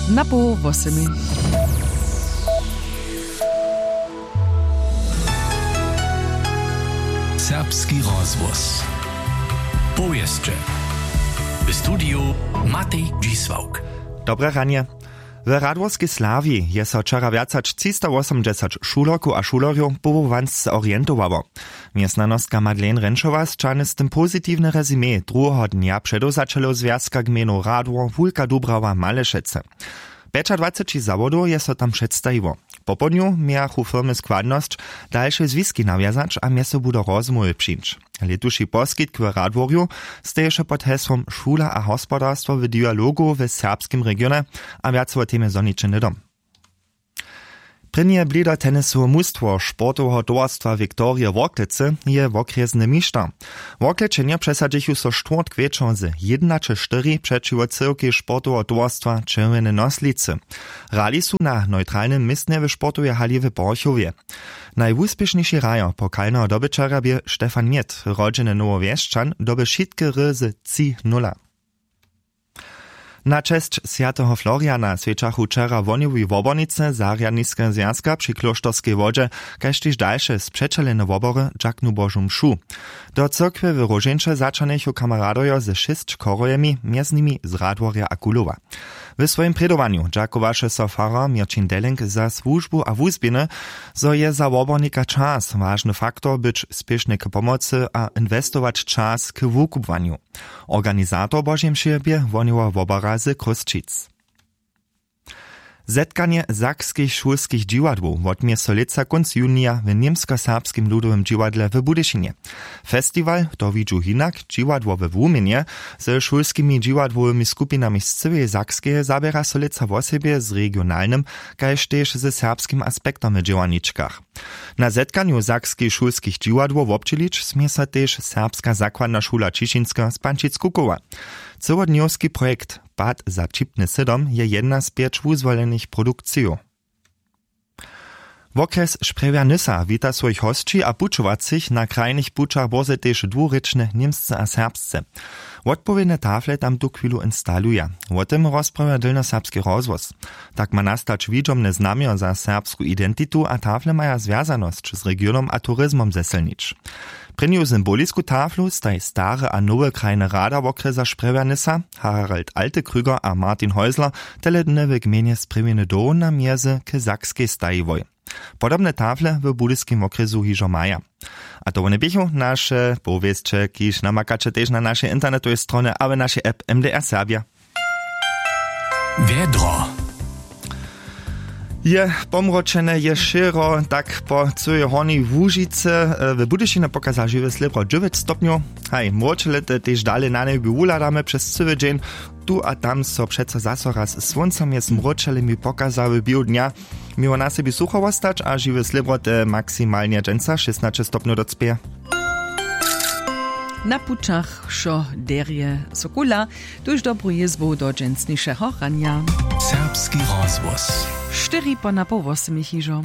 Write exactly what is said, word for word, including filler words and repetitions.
Na poł wosemy. Serbski rozhłos. Powěsće. W studiju Matej Dźisławk. Dobre ranje. W Radworskej Slawji je so wčera wjac hač třistawosomdźesać šulerkow a šulerjow powołansce orientowało. Mjez nanostka Madeleine Renčowa sćahny z tym pozitiwne rezime druheho dnja předewzaćelow zwjazka gmejnow Radwor Wulka Dubrała Malešecy. Pjećadwaceći zawodow je so tam předstajiło. Popołdnju mějachu firmy składnosć, dalše zwiski nawjazać a mjez sobu do rozmołwy přińć. Lětuši poskitk w Radworju steješe pod hesłom Šula a hospodarstwo w dialogu w serbskim regionje. A wjace wo temje zhoniće hnydom. Prěnje blidatenisowe mustwo sportoweho towarstwa Viktorije Worklecy je wokrjesny mišter. Worklećenjo přesadźichu so štwórtk wječor z jědnaće štyri přećiwo cyłkej sportoweho towarstwa Čerwjene Noslicy. Hrali su na neutralnym městnje w sportowej hali w Porchowje. Najwuspěšniši hrajo pokalneho dobyćerja bě Stefan Mjed, rodźeny Nowowjesćan, doby wšitke hry z tři nula. Na česć swjateho Floriana swjećachu wčera wohnjowi wobornicy zarjadniskeho zwjazka při klóšterskej wodźe, kaž tež dalše spřećelene wobory dźaknu Božu mšu. Do cyrkwje w Róžeńće zaćahnychu kameradojo ze šěsć chorhojemi, mjez nimi z Radworja a Kulowa. W swojim prědowanju dźakowaše so farar Měrćin Delling za słužbu a wuzběhny, zo je za wobornika čas wažny faktor być spěšny k pomocy a inwestować čas k wukubłanju. Organizator Božej mše bě wohnjowa wobora z Chrósćic. Zetkanje sakskich šulskich dźiwadłow wotměje so lětsa kónc junija w Němskoserbskim ludowym dźiwadle w Budyšinje. Festiwal To widźu hinak, dźiwadło we wuměnje, ze šulskimi dźiwadłowymi skupinami z cyłeje Sakskeje zaběra so lětsa wosebje z regionalnym kaž tež ze serbskim aspektom w dźěłarničkach. Na zetkanju sakskich šulskich dźiwadłow wobdźělić smě so tež Serbska zakładna šula Ćišinska z Pančic-Kukowa. Cyłodnjowski projekt Pad za wćipny sydom je jedna z pjeć wuzwolenych produkcijow. Wokrjes Sprjewja Nysa wita swojich hosći a pućowacych na krajnych pućach bórze tež dwurěčne němsce a serbsce. Wotpowědne tafle tam tuchwilu instaluja. Wo tym rozprawja dylnoserbski rozhłos. Tak ma nastać widźomne znamjo za serbsku identitu a tafle maja zwjazanosć z regionom a turizmom zesylnić. Prěnju symbolisku taflu staj stary a nowy krajny rada wokrjesa Sprjewja Nysa, Harald Altekrüger a Martin Häusler, tele dny w gmejnje Sprjewjeny doł na mjezy k Sakskej stajiłoj. Podobne tafle w budyskim wokrjesu hižo maja. A to wone běchu naše powěsće, kiž namakaće tež na našej internetowej stronje a w našej app M D R Serbja. Wjedro. Je pomročene, je šěro, tak po cyłej Hornjej Łužicy, e, w Budyšinje pokaza žiwe slěbro dźewjeć stopnjow. Haj, mróčele te tež dale na njebju wuhladamy přez cyły dźeń. Tu a tam so přeco zaso raz słónca mjez mróčelemi pokaza w běhu dnja. Měło na sebi sucho wostać a žiwe slěbro te maksimalnje dźensa šěsnaće stopnjow docpěje. Na pućach wšo derje so kula, tuž dobru jězbu do dźensnišeho ranja. Serbski rozhłos. Štyri po napoł wosmich hižo.